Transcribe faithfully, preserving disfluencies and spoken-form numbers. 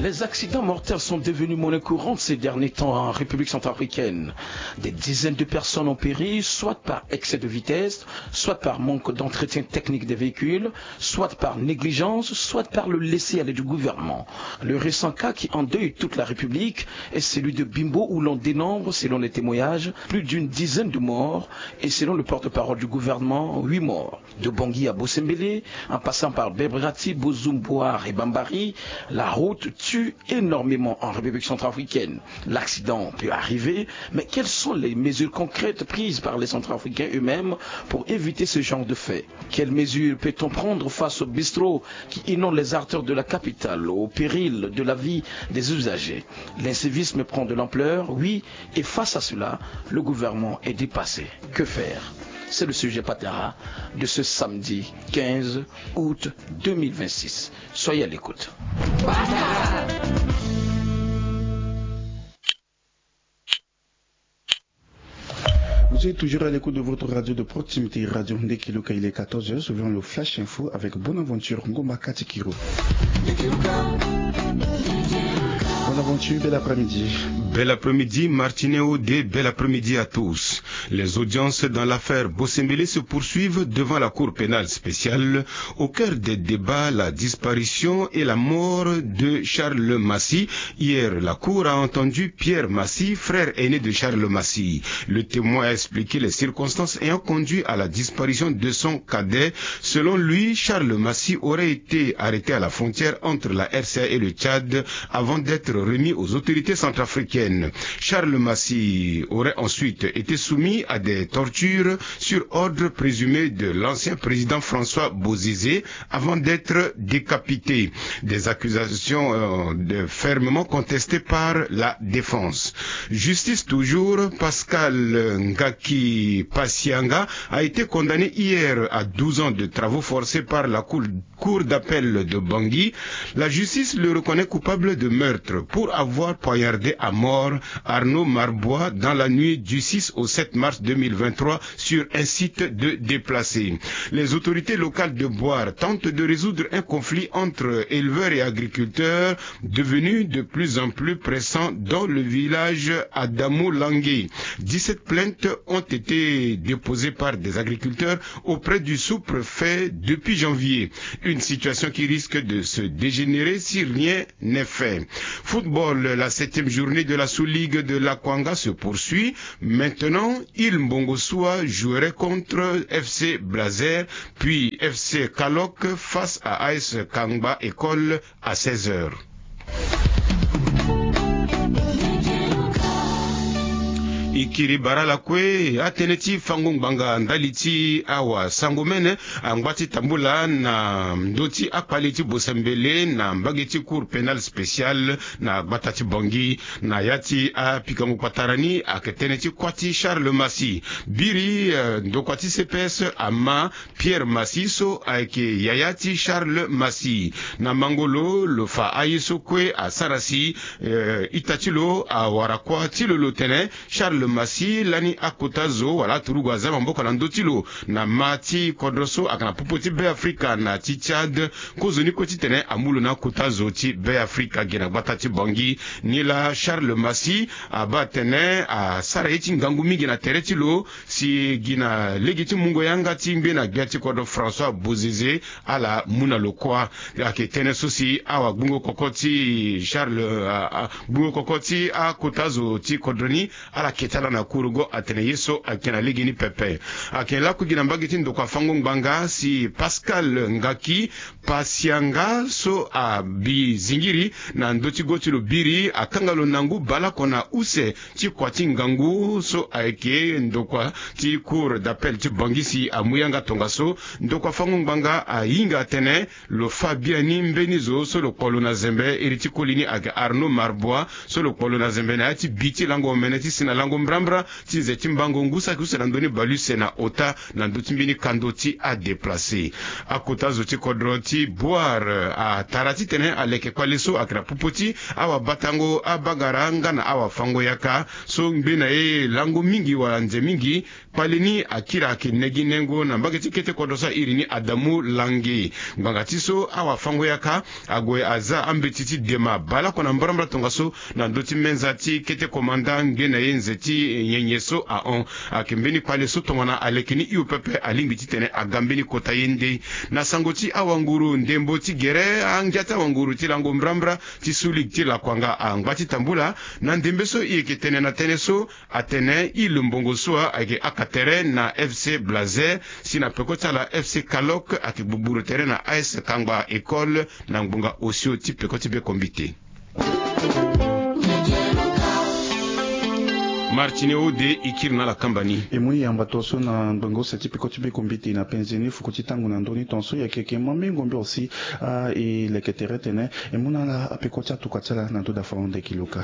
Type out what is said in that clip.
Les accidents mortels sont devenus monnaie courante ces derniers temps en République centrafricaine. Des dizaines de personnes ont péri, soit par excès de vitesse, soit par manque d'entretien technique des véhicules, soit par négligence, soit par le laisser-aller du gouvernement. Le récent cas qui endeuille toute la République est celui de Bimbo, où l'on dénombre, selon les témoignages, plus d'une dizaine de morts et, selon le porte-parole du gouvernement, huit morts. De Bangui à Bosembele, en passant par Bebrati, Bozoum, Bouar et Bambari, la route tue énormément en République centrafricaine. L'accident peut arriver, mais quelles sont les mesures concrètes prises par les Centrafricains eux-mêmes pour éviter ce genre de fait ? Quelles mesures peut-on prendre face aux bistrots qui inondent les artères de la capitale, au péril de la vie des usagers ? L'incivisme prend de l'ampleur, oui, et face à cela, le gouvernement est dépassé. Que faire ? C'est le sujet Patara de ce samedi quinze août deux mille vingt-six. Soyez à l'écoute. Vous êtes toujours à l'écoute de votre radio de proximité, Radio Ndekiluka. Il est quatorze heures, suivant le Flash Info avec Bonaventure Ngomba Katikiro. Bonaventure, bel après-midi. Bel après-midi, Martineau de bel après-midi à tous. Les audiences dans l'affaire Bossembélé se poursuivent devant la Cour pénale spéciale. Au cœur des débats, la disparition et la mort de Charles Massy. Hier, la Cour a entendu Pierre Massy, frère aîné de Charles Massy. Le témoin a expliqué les circonstances ayant conduit à la disparition de son cadet. Selon lui, Charles Massy aurait été arrêté à la frontière entre la R C A et le Tchad avant d'être remis aux autorités centrafricaines. Charles Massy aurait ensuite été soumis à des tortures sur ordre présumé de l'ancien président François Bozizé avant d'être décapité. Des accusations, euh, de fermement contestées par la défense. Justice toujours, Pascal Ngaki Pasianga a été condamné hier à douze ans de travaux forcés par la Cour, Cour d'appel de Bangui. La justice le reconnaît coupable de meurtre pour avoir poignardé à mort Arnaud Marbois dans la nuit du six au sept mars deux mille vingt-trois sur un site de déplacés. Les autorités locales de Bouar tentent de résoudre un conflit entre éleveurs et agriculteurs devenu de plus en plus pressant dans le village Adamo Langé. Dix-sept plaintes ont été déposées par des agriculteurs auprès du sous-préfet depuis janvier. Une situation qui risque de se dégénérer si rien n'est fait. Football, la septième journée de la Sous-Ligue de l'Akwanga se poursuit. Maintenant, Il Mbongosoa jouerait contre F C Blazer, puis F C Kalok face à A S Kangba École à seize heures. E kiri bara lakue, atënë ti fango ngbanga ndali ti awasango mene angba ti tambula na ndö ti akpale ti Bosembele na mbage ti Cour pénale spéciale na gbata ti Bangui. Na ya ti apikango kpatara ni ayeke tënë ti kuâ ti Charles Massy. Biri, eh, ndokua ti C P S ama Pierre Massy so ayeke yaya ti Charles Massy. Na mango lo, lo fa aye so kue asara si, eh, ita ti lo awara kuâ ti lo. Lo tene Charles Massy lani akota zo wala aturugu aza maboko na ndö ti lo na ma ti kodro so ayeke na popo ti Be Afrika na ti Tchad. Kozoni kue titene amu lo na akota zo ti Be Afrika ge na gbata ti Bangui. Nilaa Charles Massy abaa atene asara ye ti ngangu mingi na tere ti lo, si gi na lege ti mungo yanga ti ngbene gbia ti kodro François Bozizé ala mu na lo kuâ. Ayeke tënë so si awagbungo koko ti Charles, a, a, gbungo koko ti akota zo ti kodro ni, ala ke ti ala na kurugo atene ye so ayeke na lege ni pepe. Ayeke lakue gi na mbage ti ndokua fango ngbanga si Pascal Ngaki Pasianga so abi zingiri na ndö ti go ti lo biri akanga lo na ngu baleoko na use ti kua ti ngangu so ayeke ndokua ti Cour d'appel ti Bangui si amu yanga tongaso. Ndokua fango ngbanga ahinga atene lo fâ biani mbeni zo so lo kpo lo na zembe, iri ti koli ni ayeke Arnaud Marbois so lo kpo lo na zembe na ya ti bi ti lango omene ti si na lango mbrambra ti nze ti mbango ngu saki use na ndö ni baleuse na ota na ndö ti mbeni kando ti adeplace. Akota zo ti kodro ti boire atara titene aleke kpale so ayeke na popo ti awabatango abagara nga na awafango-yaka so ngbe na ye lango mingi wala nze mingi. Kpale ni akiri ayeke ne gi nengo na mbage ti kete kodro so airi ni adamu langi. Ngbanga ti so awafango-yaka ague aza ambeti ti dema baleoko na mbrambra tongaso na ndö ti menza ti kete komanda nge na ye nze ti nyenye so ahon. Ayeke mbeni kpale so tongana aleke ni hio pepe alingbi titene aga mbeni kota ye nde. Na sango ti awanguru ndembo ti gere angia ti awanguru ti lango mbrambra ti su ligue ti lakuanga angba ti tambula na ndembe so e yeke tene na tënë so atene e lo mbongo so ayeke aka tere na FC Blazer si na peko ti ala FC Kalok ayeke gbugburu tere na AS Kangba École na ngbonga osio ti peko ti be kombite. Martine ode e kiri na ala kamba ni. E mu ni yamba tongaso na ngbonga ose ti peko ti be kombite na penze ni fuku ti tango na ndö ni tongaso e yeke yeke ma mbi ngombe aussi. Ah, e leke tere tene e mu na ala apeko ti atuka ti ala na ndö dafa honde kiloka.